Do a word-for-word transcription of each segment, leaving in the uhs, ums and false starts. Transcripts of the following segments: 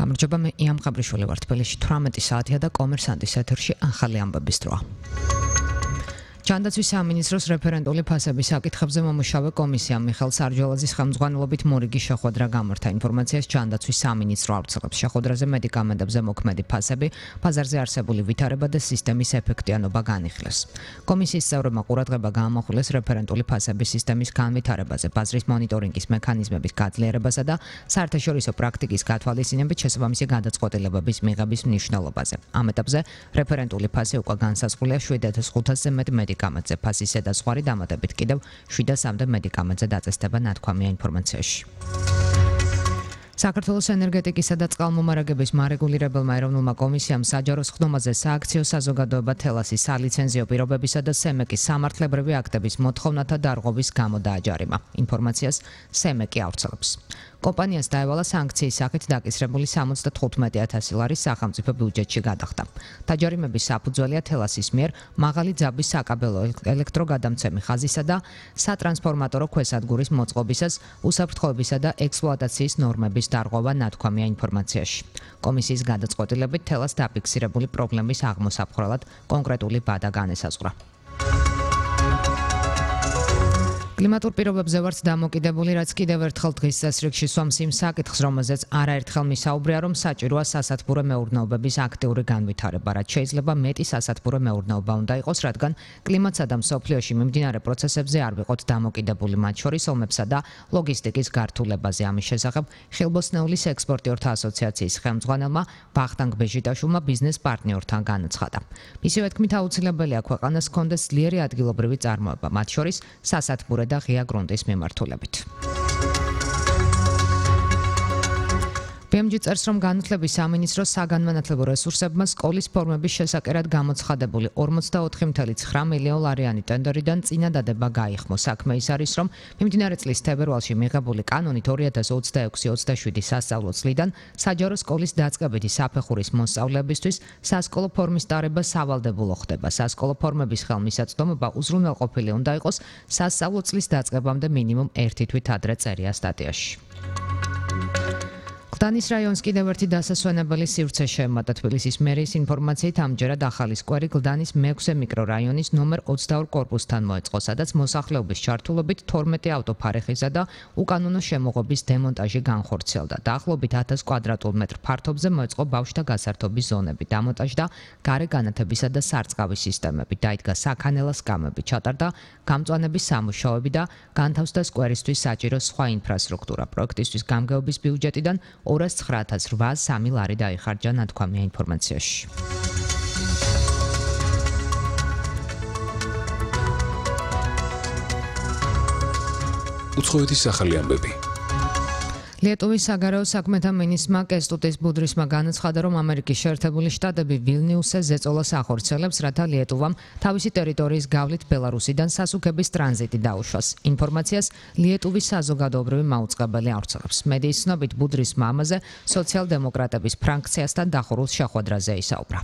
გამარჯობა, მე იამ ყაბრიშვილი ვარ. თბილისში თვრამეტი საათია და კომერსანტის ეთერში ახალი ამბების დროა. ჯანდაცვის სამინისტროს რეფერენტული ფასების საკითხებზე მომუშავე კომისიამ მიხეილ სარჯველაძის ხელმძღვანელობით მორიგი შეხვედრა გამართა. ინფორმაციას ჯანდაცვის სამინისტრო ავრცელებს. შეხვედრაზე მედიკამენტებზე მოქმედი ფასები, ბაზარზე არსებული ვითარება და სისტემის ეფექტიანობა განიხილეს. კომისიის წევრებმა ყურადღება გაამახვილეს რეფერენტული ფასების სისტემის განვითარებაზე, ბაზრის მონიტორინგის მექანიზმების გაძლიერებასა და საერთაშორისო პრაქტიკის გათვალისწინებით შესაბამისი გადაწყვეტილებების მიღების მნიშვნელობაზე. ამ ეტაპზე რეფერენტული ფასი უკვე განსაზღვრულია შვიდ ათას ხუთასზე მეტ მედიკამენტზე, ფასისა და სხვა დამატებით კიდევ შვიდ ათამდე მედიკამენტზე დაწესდება ნათქვამია ინფორმაციაში. საქართველოს ენერგეტიკისა და წყალმომარაგების მარეგულირებელმა ეროვნულმა კომისიამ საჯარო სხდომაზე სააქციო საზოგადოება თელასის სალიცენზიო პირობებისა და სემეკის სამართლებრივი აქტების მოთხოვნათა დარღვევის გამო დააჯარიმა. ინფორმაციას სემეკი ავრცელებს. კომპანიას დაევალა სანქციის სახით დაკისრებული სამოცდათხუთმეტი ათასი ლარის სახელმწიფო ბიუჯეტში გადახდა. დაჯარიმების საფუძველია თელასის მიერ მაღალი ძაბვის საკაბელო ელექტროგადამცემი ხაზისა და სატრანსფორმატორო ქვესადგურის მოწყობისას უსაფრთხოებისა და ექსპლუატაციის ნორმების დარღვევა ნათქვამია ინფორმაციაში. კომისიის გადაწყვეტილებით თელას დაფიქსირებული პრობლემის აღმოსაფხრელად კონკრეტული ბადა განესაზღვრა. კლიმატურ პირობებზე ვართ დამოკიდებული, რაც კიდევ ერთხელ დღის წესრიგში სვამს იმ საკითხს, რომელზეც არაერთხელ მისაუბრია, რომ საჭიროა სასათბურე მეურნეობების აქტიური განვითარება, რაც შეიძლება მეტი სასათბურე მეურნეობა უნდა იყოს, რადგან კლიმატსა და მსოფლიოში მიმდინარე პროცესებზე არ ვიყოთ დამოკიდებული, მათ შორის ომებსა და ლოგისტიკის გართულებაზე. ამის შესახებ ხილბოსნეულის ექსპორტიორთა ასოციაციის ხელმძღვანელმა ვახტანგ ბეჟიტაშვილმა ბიზნეს პარტნიორთან განაცხადა. მისივე თქმით, აუცილებელია ქვეყანას ჰქონდეს ძლიერი ადგილობრივი წარმოება, მათ შორის სასათბურე და ღია გრუნტის მიმართულებით. ბი ემ ჯი წერს, რომ განათლების სამინისტროს საგანმანათლებლო რესურსებმა სკოლის ფორმების შესაკერად გამოცხადებული ორმოცდაოთხი წუთი ცხრა მილიონლარიანი ტენდერიდან წინადადება გაიხმო. საქმე ის არის, რომ მიმდინარე წლის თებერვალში მიღებული კანონით ორი ათას ოცდაექვსი ოცდაშვიდი სასწავლო წლიდან საჯარო სკოლის დაწყებითი საფეხურის მოსწავლეებისთვის სასკოლო ფორმის ტარება სავალდებულო ხდება. სასკოლო ფორმების ხელმისაწვდომობა უზრუნველყოფილი უნდა იყოს სასწავლო წლის დაწყებამდე მინიმუმ ერთი თვით ადრე წერია სტატიაში. გლდანის რაიონს კიდევ ერთი დასასვენებელი სივრცე შეემატა. თბილისის მერიის ინფორმაციით ამჯერად ახალი სკვერი გლდანის მეექვსე მიკრორაიონის ნომერ ოცდაორ კორპუსთან მოეწყო, სადაც მოსახლეობის ჩართულობით თორმეტი ავტოფარეხისა და უკანონო შემოღობის დემონტაჟი განხორციელდა. დაახლოებით ათას კვადრატულ მეტრ ფართობზე მოეწყო ბავშვთა გასართობის ზონები, დამონტაჟდა გარე განათებისა და სარწყავი სისტემები, დაიდგა საქანელა სკამები, ჩატარდა გამწვანების სამუშაოები და განთავსდა სკვერისთვის საჭირო სხვა ინფრასტრუქტურა. პროექტისთვის გამგეობის ბიუჯეტიდან ორას ცხრა ათას რვაას სამი ლარი დაიხარჯა, ნათქვამია ინფორმაციაში. უცხოეთის ახალი ამბები. ლიეტუვის საგარეო საქმეთა მინისტრმა კესტუტის ბუდრისმა განაცხადა, რომ ამერიკის შეერთებული შტატები ვილნიუსზე ზეწოლას ახორციელებს, რათა ლიეტუვამ თავისი ტერიტორიის გავლით ბელარუსიდან სასუქების ტრანზიტი დაუშვას. ინფორმაციას ლიეტუვის საზოგადოებრივი მაუწყებელი ავრცელებს. მედიის ცნობით ბუდრისმა ამაზე სოციალ-დემოკრატების ფრაქციასთან დახურულ შეხვედრაზე ისაუბრა.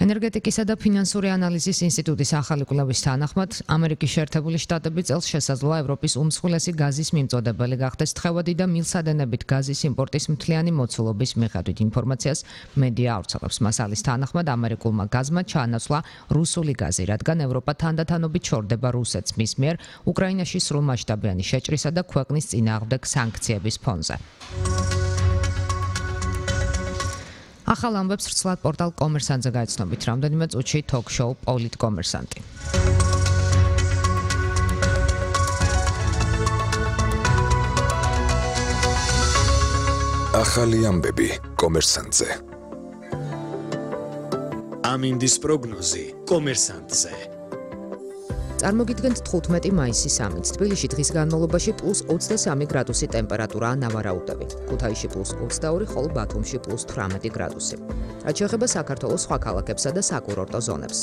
ენერგეტიკისა და ფინანსური ანალიზის ინსტიტუტის ახალი კვლევის თანახმად, ამერიკის შეერთებული შტატები წელს შესაძლოა ევროპის უმსხვილესი გაზის მიმწოდებელი გახდეს თხევადი და მილსადენებით გაზის იმპორტის მთლიანი მოცულობის მიხედვით. ინფორმაციას მედია ავრცელებს. მასალის თანახმად, ამერიკულმა გაზმა ჩაანაცვლა რუსული გაზი, რადგან ევროპა თანდათანობით შორდება რუსეთს მის მიერ უკრაინაში სრულმასშტაბიანი შეჭრისა და ქვეყნის წინააღმდეგ სანქციების ფონზე. ახალ ამბებს ვრცლად პორტალ კომერსანტზე გაიცნობით. რამდენიმე წუთში თოქ-შოუ პოლიტკომერსანტი. ახალი ამბები კომერსანტზე. ამინდის პროგნოზი კომერსანტზე. წარმოგიდგენთ თხუთმეტი მაისის ამით. თბილისში დღის განმავლობაში პლუს ოცდასამი გრადუსი ტემპერატურაა ნავარაუდები. ქუთაისში პლუს ოცდაორი, ხოლო ბათუმში პლუს თვრამეტი გრადუსი. რაც შეეხება საქართველოს სხვა ქალაქებსა და საკურორტო ზონებს.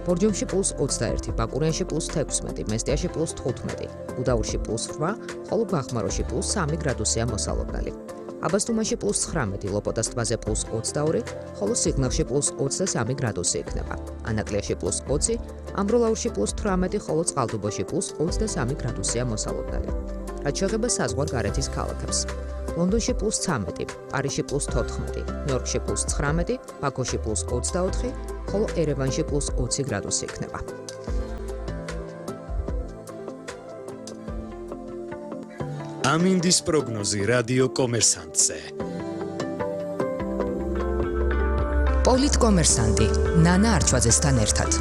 ბორჯომში პლუს ოცდაერთი, ბაკურიანში პლუს თექვსმეტი, მესტიაში პლუს თხუთმეტი, გუდაურში პლუს რვა, ხოლო ბახმაროში პლუს სამი გრადუსია მოსალოდნელი. აბასთუმანში პლუს ცხრამეტი, ლოპოტას ტბაზე პლუს ოცდაორი, ხოლო სიღნაღში პლუს ოცდასამი გრადუსი იქნება. ანაკლიაში პლუს ოცი, ამბროლაურში პლუს თვრამეტი, ხოლო წყალტუბოში პლუს ოცდასამი გრადუსია მოსალოდნელი. რაც შეეხება საზღვარგარეთის ქალაქებს. ლონდონში პლუს ცამეტი, პარიზში პლუს თოთხმეტი, ნიუ-იორკში პლუს ცხრამეტი, ბაქოში პლუს ოცდაოთხი, ხოლო ერევანში პლუს ოცი გრადუსი იქნება. ამინდის პროგნოზი რადიო კომერსანტზე. პოლიტკომერსანტი ნანა არჩვაძესთან ერთად.